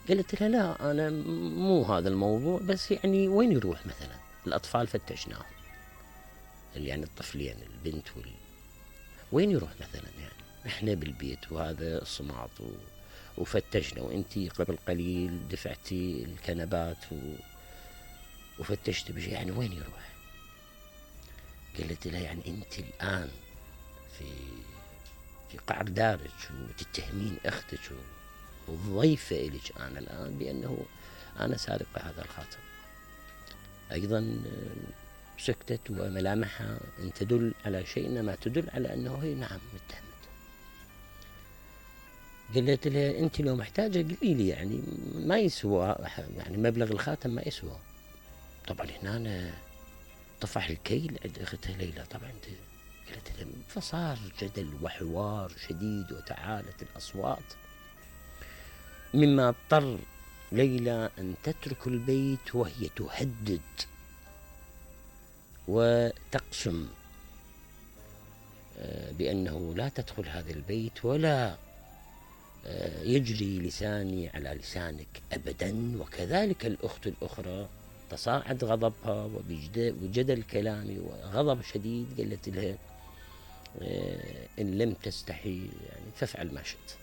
قالت لها لا أنا مو هذا الموضوع، بس يعني وين يروح مثلا الأطفال فتشناهم، يعني الطفلين البنت وين يروح مثلا يعني احنا بالبيت وهذا صماط وفتشنا، وانتي قبل قليل دفعتي الكنبات وفتشت بشيء، يعني وين يروح؟ قالت لها يعني انت الآن في قعر دارك وتتهمين اختك وضيفة إليك أنا الآن بأنه أنا سارقة هذا الخاتم. أيضا سكتت وملامحها أن تدل على شيء، إنما تدل على أنه هي نعم متهمة. قالت لها أنت لو محتاجة قولي لي، يعني ما يسوى، يعني مبلغ الخاتم ما يسوى. طبعا هنا طفح الكيل عند أختها ليلى. طبعا قالت لها، فصار جدل وحوار شديد وتعالت الأصوات، مما اضطر ليلى أن تترك البيت وهي تهدد وتقسم بأنه لا تدخل هذا البيت ولا يجري لساني على لسانك أبدا. وكذلك الأخت الأخرى تصاعد غضبها وجدل كلامي وغضب شديد. قالت لها إن لم تستحي يعني فافعل ما شئت.